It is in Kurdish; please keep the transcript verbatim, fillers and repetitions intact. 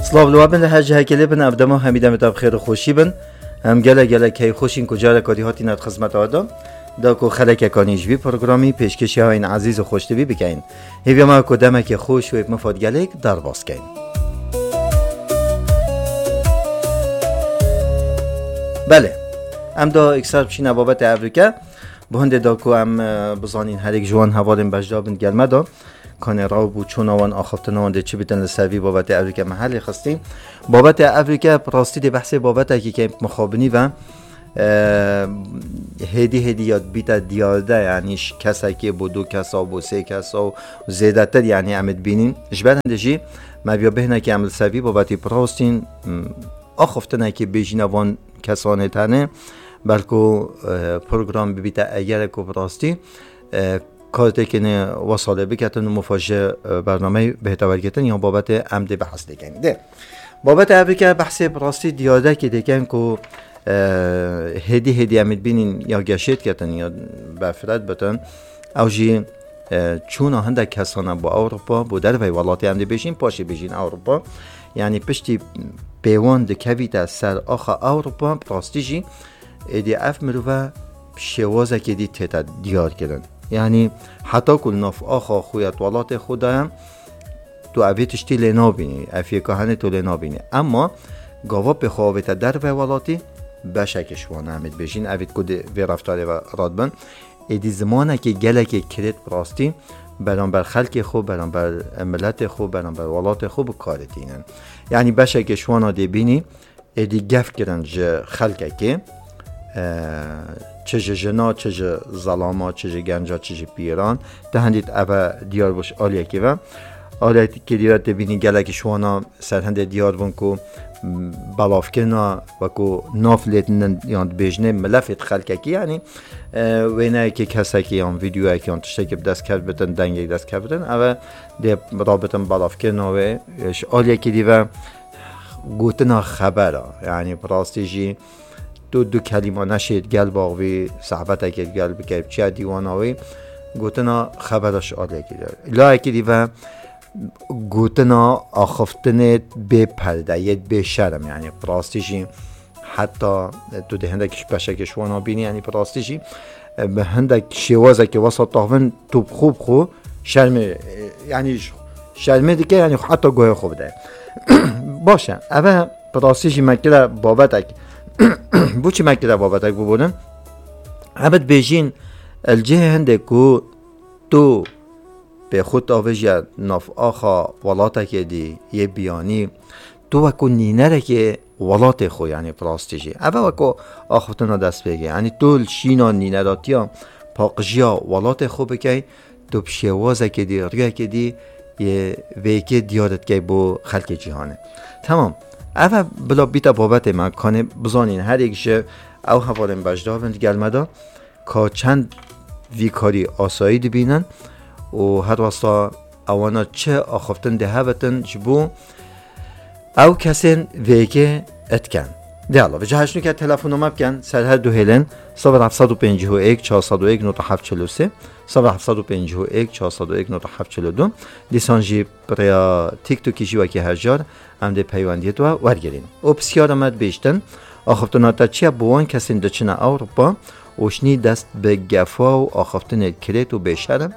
Silav li we bin, li her cihekê lê bin, ev dema hemî demê te bi xêr û xweşî bin. Em gelek gelek keyfxweş in ku careka dî hatîne di xizmeta we de. Da ku xelekeka nî ji vî programî pêşkêşî hewa yên ezîz û xweşdivî bikeyin. Hêviya me ku demekê xweş wê bi mifad gelêk derbas keyin. Belê, em da îkser biçîne babetê evrike. Bi hindê da ku em, e, bizanîn herêk ji wan hevalên beşdar bin gel me da. Kanê raw bû, çûna wan, axaftina wan dê çi bitin, li ser vî babetê evrike me helê xistî. Babetê evrike bi rastî dê behsê babetekî ke mixabinî ve, e, hêdî hêdî ya bîte diyarde, yanî ji kesekê bo du kesa, bo sê kesa û zêdetir, yanî em dibînin. Ji ber hindê jî me viya bêhnekê em li ser vî babetî bi rastîn, m, axaftinekê bêjîne van kesanê tenê, belku, e, program bibîte egerek û bi rastî, e, kartêkê ne wesa lê biketin û mifa ji, e, bernameyê bihête wergirtin, yan babetê em dê behs lê kein. Dê. Babetê evrike behsê bi rastî diyardekê dêken ku, e, hêdî hêdî em dibînin ya geşê diketin ya berfiret bitin. Ew jî, e, çûna hindek kesana bo Ewropa, bo dervey welatê em dê bêjin, paşê bêjin Ewropa. Yanî piştî pêwan dikevîte ser axa Ewropa, bi rastî jî êdî ev mirove bi şêwazekê dî tête diyar kirin. Yanî heta ku li nav axa xwe ya di welatê xwe de ye, tu evê tiştî lê nabînî, ev yeka henê tu lê nabînî. Emma gava pê xwe avête derve welatî, beşekê ji wan em dibêjin, evît ku di vê reftarê ve radibin, êdî zimanekê gelekê kirêt bi rastî beramber xelkê xwe, beramber miletê xwe, beramber welatê xwe bi karê tînin. Yanî beşekê ji wana dê bînî, êdî gef kirin ji xelkekê, e, çi ji jina, çi ji zelama, çi ji genca, çi ji pîran, ti hindî eve diyar bû ji aliyekê ve. Aliyekê dî ve tê bînî gelekî ji wana ser hindê diyar bûn ku, m, belavkirina wekû nav lê tinin yan dibêjinê milefê di xelkekî, yanî, e, wêneyekê kesekî yan vîdyoyekê yan tiştekî bi dest kevbitin, dengek dest kevbitin, eve dê rabitin belavkirina wê, e, ji aliyekê dî ve gotina xebera, yanî bi rastî jî tu du kelîma neşê di gel baxvî, sabetekê di gel bikey, biçiya dîwana wî, gotina xebera ji aliyekî dî. Layekî dî ve gotina axiftinê bê perde, yê bê şerm, yanî bi rastî jî heta tu dê hindek ji beşekê ji wana bînî, yanî bi rastî jî, e, bi hindek şêwazekê wesa taxvin tu bi xwe bi xwe şermê, e, yanî ji şermê dike, yanî heta guhê xwe bide. Baş e, eve bi rastî jî me kire babetek. Bo çi me kire babetek bibonin? Eve dibêjin, li cihê hindê ku tu pê xwe davijiye nav axa welatekê dî yê biyanî, tu wekû nînerekê welatê xwe, yanî bi rastî jî. Eve wekû axiftina destpêkê. Yanî tu li şîna nîneratiya paqijiya welatê xwe bikey, tu bi şêwazekê dî, rûyekê dî yê vêkê diyar dikey bo xelkê cîhanê. Temam. Eve bila bîte babetê me, kanê bizanîn her yek ji ew hevalên beşdar bin di gel me de, ka çend vî karî asayî dibînin û her westa ewana çi axiftin dê hevetin ji bo ew kesên vêkê etken. Dê Allah, vêca heşnûke telefona me bikin, ser her du hêlên, sifir heft sed û pêncî û yek, çar sed û yek, nod heft çil û sê, sifir heft sed û pêncî û yek, çar sed û yek, nod heft çil û du. Dîsan jî bi rêya TikTokî jî wekî her car, em dê peywendiyê tu wergirîn. Û pisyara me dibêjtin, axiftina te çi ye bo wan kesên diçine Ewropa û şinî dest bi gefa û axiftinê kirêt û bêşerm?